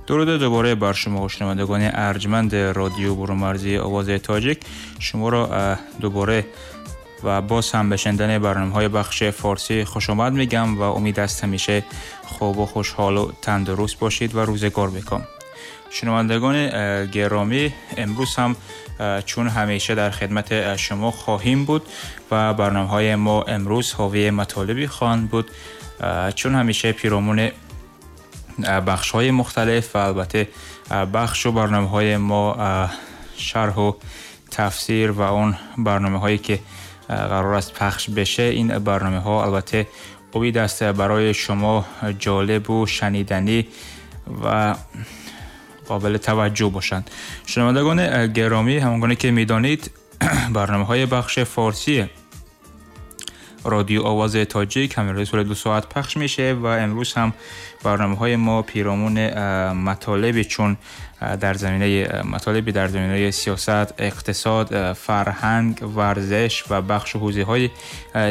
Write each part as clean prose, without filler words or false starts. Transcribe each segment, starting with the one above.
درود دوباره بر شما شنوندگان ارجمند رادیو برون‌مرزی آواز تاجیک. شما را دوباره و باز هم به شنیدن برنامه‌های بخش فارسی خوش آمد میگم و امید است همیشه خوب و خوشحال و تندرست باشید و روزگار بکام. شنوندگان گرامی، امروز هم چون همیشه در خدمت شما خواهیم بود و برنامه‌های ما امروز حاوی مطالبی خواهند بود چون همیشه پیرامون بخش‌های مختلف و البته بخش و برنامه‌های ما شرح و تفسیر و اون برنامه‌هایی که قرار است پخش بشه، این برنامه‌ها البته امید است برای شما جالب و شنیدنی و قابل توجه باشند. شنوندگان گرامی، همانگونه که می‌دانید برنامه‌های بخش فارسی رادیو آواز تاجیک همه روز 2 ساعت پخش میشه و امروز هم برنامه‌های ما پیرامون مطالبی چون در زمینه مطالبی در زمینه سیاست، اقتصاد، فرهنگ، ورزش و بخش و حوزه‌های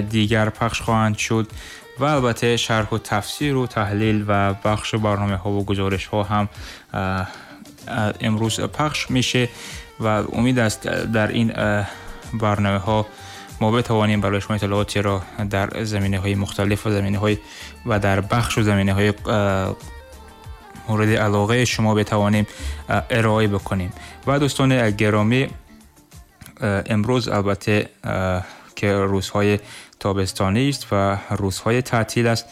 دیگر پخش خواهند شد و البته شرح و تفسیر و تحلیل و بخش برنامه‌ها و گزارش‌ها هم امروز پخش میشه و امید است در این برنامه‌ها ما بتوانیم برای شما اطلاعاتی را در زمینه‌های مختلف و زمینه‌های و در بخش و زمینه‌های مورد علاقه شما بتوانیم ارائه بکنیم. و دوستان گرامی، امروز البته که روزهای تابستانی است و روزهای تعطیل است،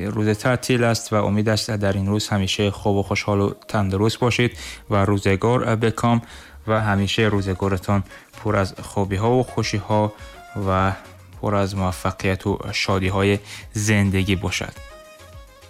روز تعطیل است و امید است در این روز همیشه خوب و خوشحال و تندرست باشید و روزگار بکام و همیشه روزگارتان پر از خوبی‌ها و خوشی‌ها و پر از موفقیت و شادی‌های زندگی باشد.